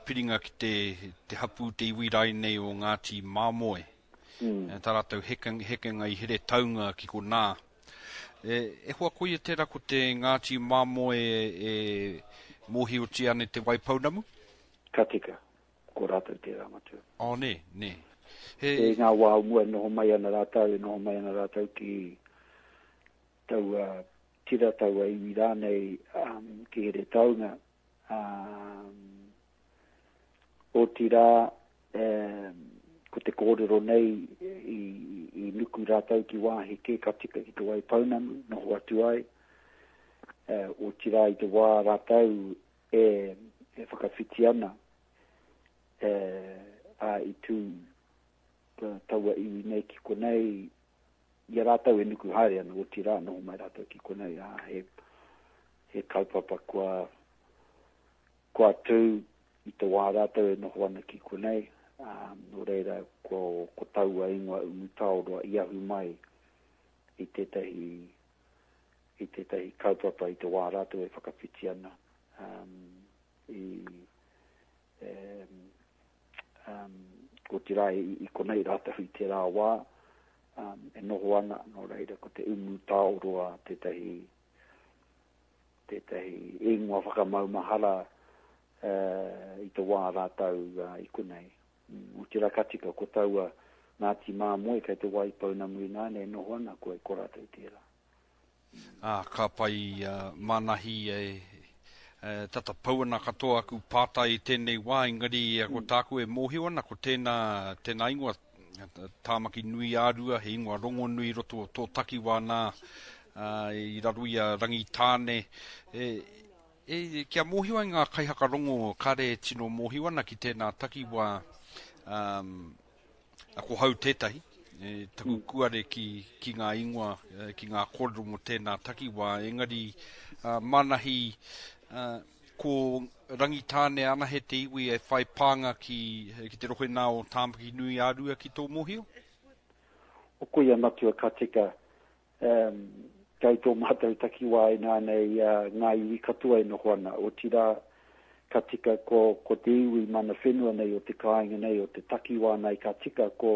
piringa ki te, te hapū, te iwi rainei o Ngāti Māmoe. Mm. Tā rātou hekenga, hekenga i Heretaunga ki konā. E, e hoa koia tērā ko te Ngāti Māmoe e, e mōhiotia ana i Te Waipounamu? Ka tika. Ko rātou tērā matua. Oh, nē, nē. He... I ngā wā o mua e noho mai ana rātou, e noho mai ana rātou ki taua tira, taua iwi rānei um, ki Heretaunga. Um, otirā, um, ko te kōrero nei i, i nuku rātou ki wāhi kē ka tika ki Te Waipounamu, noho atu ai. Uh, otirā i te wā rātou e, e whakawhiti ana, e, a i tū taua iwi nei ki konei, i a rātou e nuku haere ana, otirā, noho mai rātou ki konei, ā, he, he kaupapa kua, kua tū i te wā rātou e noho ana ki konei, ā, nō reira, ko, ko taua ingoa Umutaoroa i ahu mai i tētahi, i tētahi kaupapa i te wā rātou e whakawhiti ana, um, i, um, otirā i, i konei rātou i tērā wā, um, e noho ana, nō reira ko te umu tāoroa tētahi, tētahi ingoa whakamaumahara uh, i te wā rātou uh, i konei. Mm, otirā ka tika ko taua Ngāti Māmoe kei te Waipounamu ināianei e noho ana, koe ko rātou tērā. Ā, ka pai a Manahi e, e tata pau ana katoa aku pātai i tēnei wā, engari ko tāku e mōhio ana, ko tēnā, tēnā ingoa, Tāmaki nui-ā-Rua, he ingoa rongonui i roto o tō takiwā nā, ā, i raro i a Rangitāne. E, e, kia mōhio ai ngā kaihakarongo kāre e tino mōhio ana ki tēnā takiwā, ā, Ko hau tētahi, e, taku mm. kuare ki, ki ngā ingoa, e, ki ngā kōrero mō tēnā takiwā, engari uh, Manahi, uh, ko Rangitāne anahe te iwi e whai pānga ki, ki te rohe nā o Tāmaki nui ā-Rua ki tō mōhio? O koia matua ka tika, Um, kei tō mātou takiwā ināianei uh, ngā iwi katoa e noho ana, otirā, ka tika ko, ko te iwi mana whenua nei o te kāinga nei, o te takiwā nei, ka tika ko,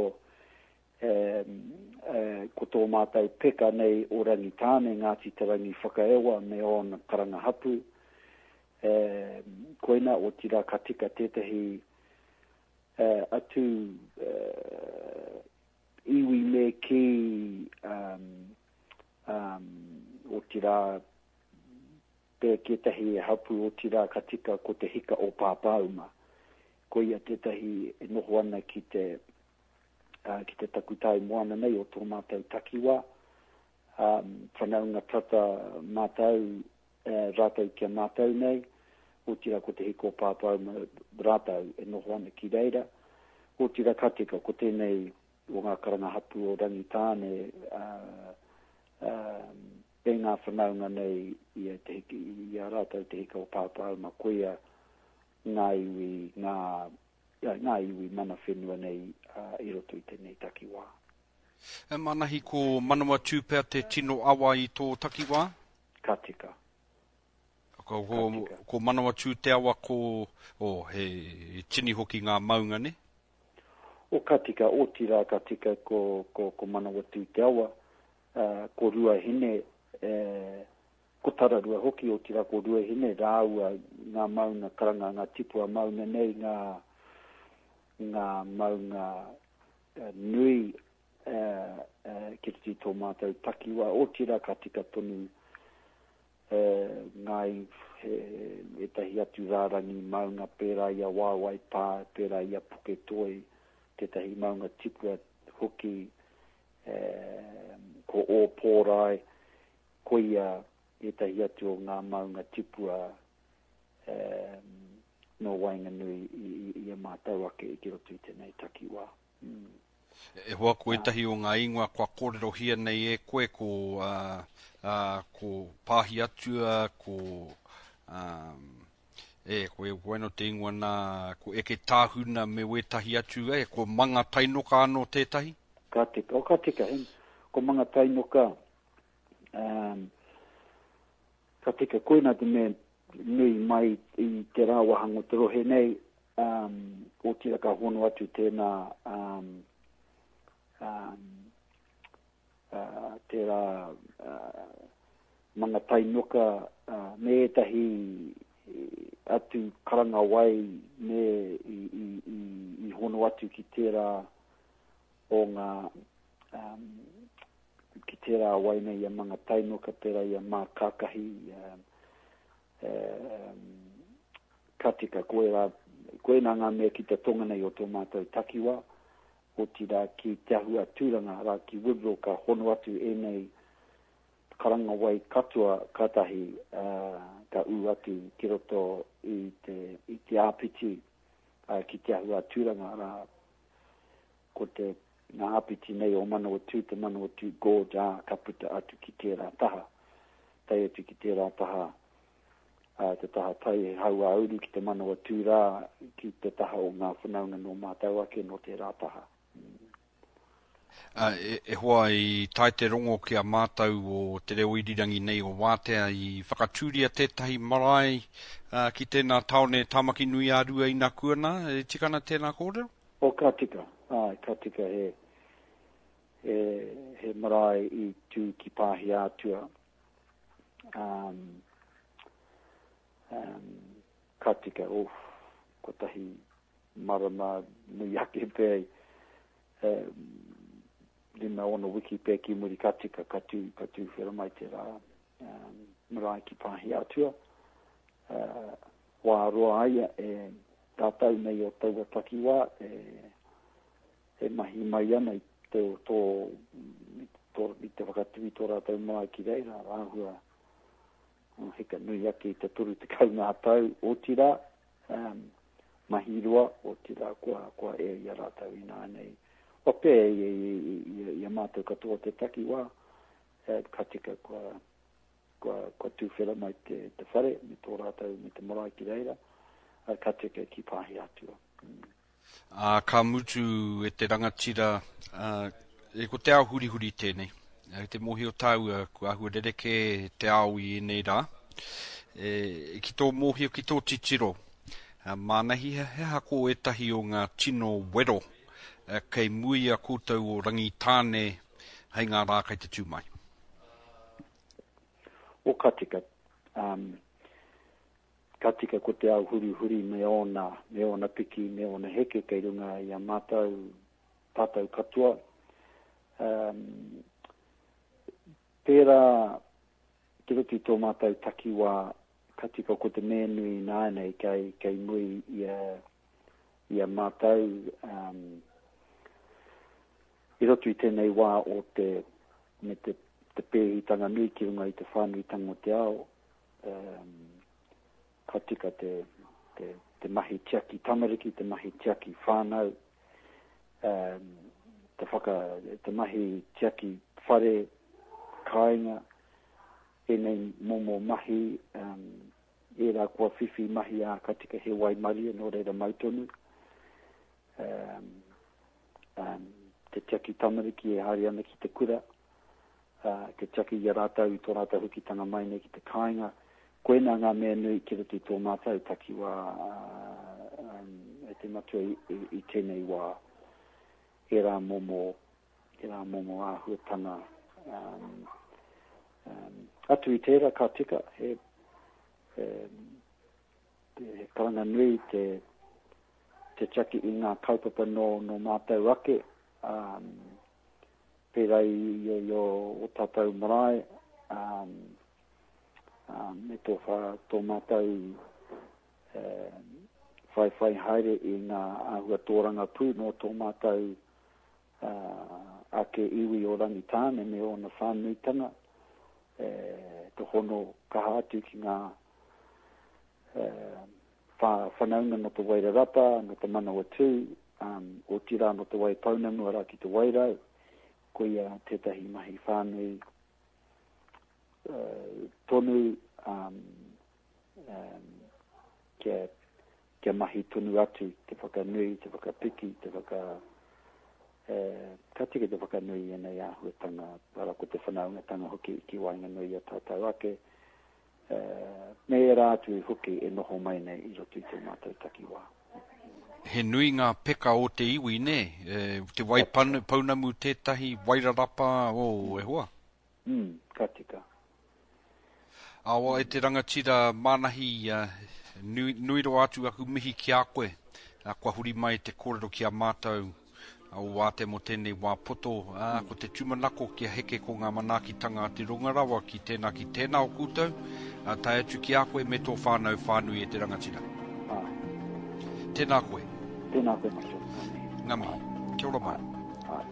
um, uh, ko tō mātou peka nei o Rangitāne, Ngāti Te Rangi Whakaewa me ōna karanga hapū. Um, koina, otirā, ka tika tētahi uh, atu uh, iwi me kī, um, um, otirā, pea ki ētahi e hapū, otirā ka tika ko te hika o Pāpāuma. Koia tētahi e noho ana ki te, uh, ki te takutai moana nei o tō mātou takiwā. Um, whanaunga tata mātou, uh, rātou ki a mātou nei, otirā ko te hika o Pāpāuma rātou e noho ana ki reira. Otirā ka tika ko tēnei o ngā karanga hapū o Rangitāne, ā, ā, e ngā whanaunga nei i a te hiki, i a rātou te hika o Pāpāuma, koia ngā iwi, ngā, ngā iwi mana whenua nei ā, i roto i tēnei takiwā. E Manahi, ko Manawatū pea te tino awa i tō takiwā? Ka tika. Ko, ko, ko Manawatū te awa ko, oh, he, he tini hoki ngā maunga, ne? O ka tika, otirā ka tika ko, ko, ko Manawatū te awa, uh, ko Ruahine, eh, ko Tararua hoki, otirā ko Ruahine rāua ngā maunga karanga, ngā tipua maunga nei, ngā, ngā maunga uh, nui uh, uh, ki roto i tō mātou takiwā, otirā ka tika tonu ngā ētahi atu rārangi maunga pērā i a Waewae Pā, pērā i a Puketoi, tētahi maunga tipua hoki, ko Ōpōrae, koia ētahi atu o ngā maunga tipua nō waenganui i a mātou ake ki roto i tēnei takiwā. E hoa ko ētahi o ngā ingoa kua kōrerohia nei e koe ko, uh, ko Pāhi Atua, ko, um, e, ko e koe te ingoa nā, ko Eke Tāhuna me wētahi atu, e, ko Manga Tainoka anō tētahi? Ka tika, o ka tika, he, ko Manga Tainoka, um, ka tika, koina te mea nui mai i te rāwahanga o te rohe nei, Um, otirā ka hono atu tēnā um, um, uh, tērā uh, Mangatainoka uh, me ētahi atu karanga wai me i, i, i, i hono atu ki tērā o ngā um, ki tērā wai nei i a Mangatainoka, pērā i a Mākākahi, um, um, ka tika, koirā, koinā ngā mea ki te tonga nei o tō mātou takiwā, otirā ki Te Ahu a Tūranga, arā ki Woodville ka hono atu ēnei karanga wai katoa kātahi uh, ka ū atu ki roto i te, i te āpiti uh, ki Te Ahu a Tūranga, arā ko te ngā āpiti nei o Manawatū, te Manawatū Gorge, ā, ka puta atu ki tērā taha, tae atu ki tērā taha, ā, te taha tai he hauāuru ki te Manawatū rā, ki te taha o ngā whanaunga nō mātou ake nō tērā taha. Ā, e, e hoa i tae te rongo ki a mātou o te reo irirangi nei o Wātea i whakatūria tētahi marae ā, ki tēnā tāone Tāmaki nui ā Rua inakuana, e tika ana tēnā kōrero? Oh, ka tika, āe, ka tika he, he, he marae i tū ki Pāhiātua. Um, um, ka tika, oh, kotahi marama nui ake pea, um, 5-6 wiki pea ki muri ka tika, ka tū, ka tūwhera mai tērā um, marae ki Pāhiātua. Uh, wā roa ai e tātou nei o taua takiwā e, e mahi mai ana i te, tō, tō, i te whakatū i tō rātou marae ki reira, āhua oh, heka nui ake i te 30 ngā tau, otirā, um, mahi roa, otirā kua, kua ea i a rātou ināianei. Kua pea i, i, i, i, i a mātou katoa te takiwā, eh, ka tika kua, kua, kua tūwhera mai te, te whare me tō rātou, me te marae ki reira, ā, ka tika ki Pāhiatua. Mm. Ā, ka mutu e te rangatira, ā, e ko te ao hurihuri tēnei. E te mōhio tāua, kua āhua rerekē te ao i ēnei rā. E, ki tō mōhio, ki tō titiro, mānahi he aha ko ētahi o ngā tino wero kei mua i a koutou o Rangitāne hei ngā rā kei te tū mai? O ka tika, um, ka tika ko te ao hurihuri me ōna, me ōna piki, me ōna heke kei runga i a mātou, tātou katoa. Um, pērā ki roto i tō mātou takiwā, ka tika ko te mea nui ināianei kei, kei muri i a, i a mātou, um, i roto i tēnei wā o te, me te, te pēhitanga nui ki runga i te whānuitanga o te ao, um, ka tika te, te, te mahi tiaki tamariki, te mahi tiaki whānau, um, te, whaka, te mahi tiaki whare, kāinga, ēnei momo mahi, um, ērā kua whiwhi mahi ā, ka tika he waimarie, nō reira mau tonu. Um, um, te tiaki tamariki e haere ana ki te kura, uh, te tiaki i a rātou i tō rātou hokitanga mai nei ki te kāinga. Koinā ngā mea nui ki roto i tō mātou takiwā uh, um, e te matua i, i, i tēnei wā. Ērā momo, ērā momo āhuatanga. Um, um, atu i tērā ka tika, he, he, he karanga nui te, te tiaki i ngā kaupapa nō, nō mātou ake, um, pērā i, i, i o, o tātou marae, um, um, me tō, wha, tō mātou um, whaiwhai haere i ngā āhua tōrangapū nō tō mātou uh, ake iwi o Rangitāne me ōna whānuitanga, e, te hono kaha atu ki ngā whanaunga nō Te Wairarapa, nō Te Manawatū, um, otirā nō Te Waipounamu arā ki Te Wairau, koia tētahi mahi whānui uh, tonu um, um, kia, kia mahi tonu atu te whakanui, te whakapiki, te whaka, eh, ka tika te whakanui i ēnei āhuatanga, arā ko te whanaungatanga hoki ki waenganui i a tātou ake, me ērā atu hoki e noho mai nei i roto i tō mātou takiwā. He nui ngā peka o te iwi, nē? E, te wai pounamu tētahi, Wairarapa, oh, e hoa. Mm, ka tika. Awa e te rangatira Manahi, nui, nui rawa atu aku mihi ki a koe. Kua huri mai te kōrero ki a mātou o Wātea mō tēnei wā poto, ā, ko te tūmanako kia heke ko ngā manaakitanga a te runga rawa ki tēnā ki tēnā o koutou, ā, tae atu ki a koe me tō whānau whānui e te rangatira. Āe. Tēnā koe. Tēnā koe Matua. Ngā mihi. Ngā mihi. Kia ora mai. Āe.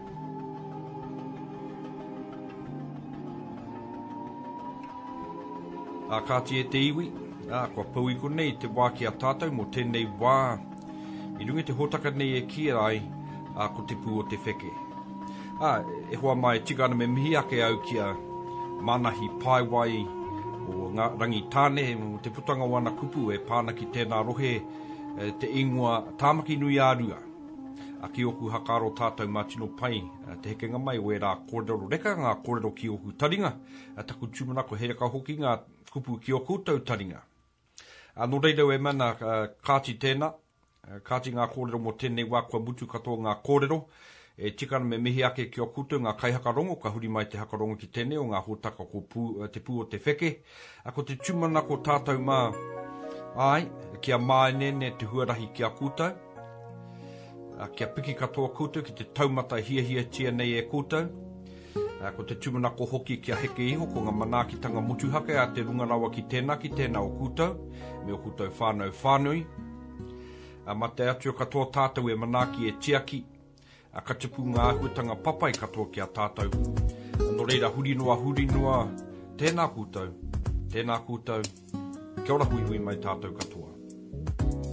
Ā, kāti e te iwi, ā, kua pau i konei te wā ki a tātou mō tēnei wā i runga i te hōtaka nei e kīia ai, ā, ko Te Pū o te Wheke. Ā, e hoa mā e tika ana me mihi ake au ki a Manahi Paewai o Ngā Rangitāne mō te putanga o ana kupu e pā ana ki tēnā rohe te ingoa Tāmaki nui ā Rua. A ki ōku hakaaro tātou mā tino pai te hekenga mai o ērā kōrero reka ngā kōrero ki ōku taringa, taku tūmanako he reka hoki ngā kupu ki ō koutou taringa. Ā, nō reira e mana, kāti tēnā, kāti ngā kōrero mō tēnei wā kua mutu katoa ngā kōrero. E tika ana me mihi ake ki a koutou ngā kaihakarongo ka huri mai te hakarongo ki tēnei o ngā hōtaka ko pū, Te Pū o te Wheke. Ā, ko te tūmanako tātou mā, āe, kia māeneene te huarahi ki a koutou. Ā, kia piki katoa koutou ki te taumata hiahiatia nei e koutou. Ā, ko te tūmanako hoki kia heke iho ko ngā manaakitanga motuhake a te runga rawa ki tēnā, ki tēnā o koutou, me ō koutou whānau whānui. Ā, mā te Atua katoa tātou e manaaki, e tiaki, ā, ka tupu ngā āhuatanga papai katoa ki a tātou. Nō reira, huri noa, huri noa, tēnā koutou, tēnā koutou, kia ora huihui mai tātou katoa.